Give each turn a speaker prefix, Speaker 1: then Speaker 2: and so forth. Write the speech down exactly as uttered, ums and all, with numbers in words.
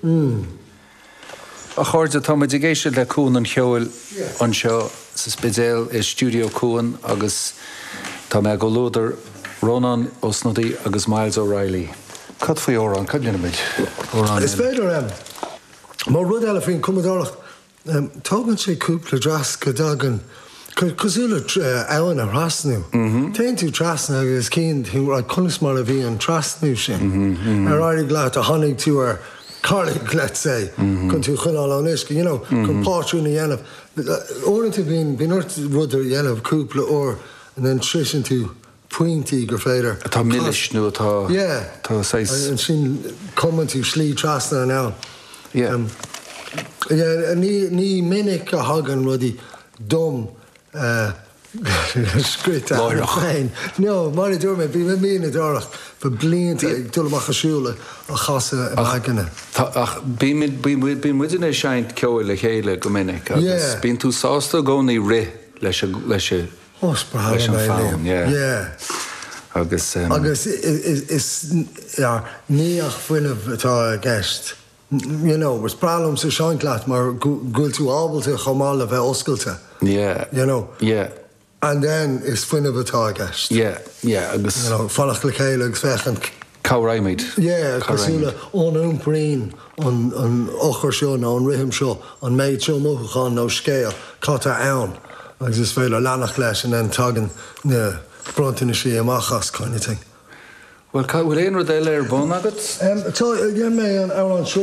Speaker 1: A chairde, tá muid ag éisteacht le Cuan an Cheoil anseo sa Spidéal i Studio Cuan agus tá mé i gcomhluadar Rónán Ó Snodaigh agus Myles O'Reilly. Cad faoi amhrán? Cad déanfaimid? Amhrán
Speaker 2: Is féidir um, mar rud eile faoin cumadóireacht, um, tógann sé cúpla dreas go dtagann cosúil le abhainn a thrasnú. Téann tú trasna agus cíonn tú conas mar a bhí an trasnú sin. Ar éirigh leat a tháinig tú ar carraig, let's say, chun tú choinneáil ón uisce, you know, chun pátrún a dhéanamh. Uaireanta bíonn bíonn ort rud a dhéanamh cúpla uair and then sroiseann tú pointí gur féidir.
Speaker 1: Atá milis nó atá
Speaker 2: Yeah.
Speaker 1: tá saghas-
Speaker 2: Ansin cumann tú slí trasna an abhainn.
Speaker 1: Yeah.
Speaker 2: Um, yeah, ní ní minic a thagann rudaí dom uh, scrite
Speaker 1: Láithreach.
Speaker 2: féin. No, mar a dúirt mé, bhí mé mianadóireacht fa blianta ag dul amach ag siúl a chasadh i m'aigne.
Speaker 1: Tá- ach bíonn muid ag seinnt ceoil le chéile go minic agus
Speaker 2: Yeah.
Speaker 1: bíonn tú sásta i gcónaí rith leis an- leis an-
Speaker 2: Ó, is breá
Speaker 1: leis an
Speaker 2: liom é,
Speaker 1: fonn,
Speaker 2: Liam.
Speaker 1: yeah.
Speaker 2: Yeah.
Speaker 1: agus um,
Speaker 2: Agus is, is, yeah, ní ach fuinneamh atá i gceist. You know, is breá liom sa seinnt leat mar go bhfuil tú ábalta chomh maith le bheith oscailte.
Speaker 1: yeah
Speaker 2: You know.
Speaker 1: yeah
Speaker 2: And then is fuinneamh atá i gceist.
Speaker 1: yeah yeah agus
Speaker 2: You know, fanacht le chéile agus féachaint
Speaker 1: cabhraímid
Speaker 2: Yeah, cosúil le an iompraíonn an an eochair seo nó an rithim seo an méid seo mothúchán nó scéal cad tá ann agus is féidir leanacht leis and then tagann na bronntanais amach as kind of thing.
Speaker 1: Well ca bhfuil aon rud eile ar bun agat?
Speaker 2: Um, tá dhein mé an amhrán seo.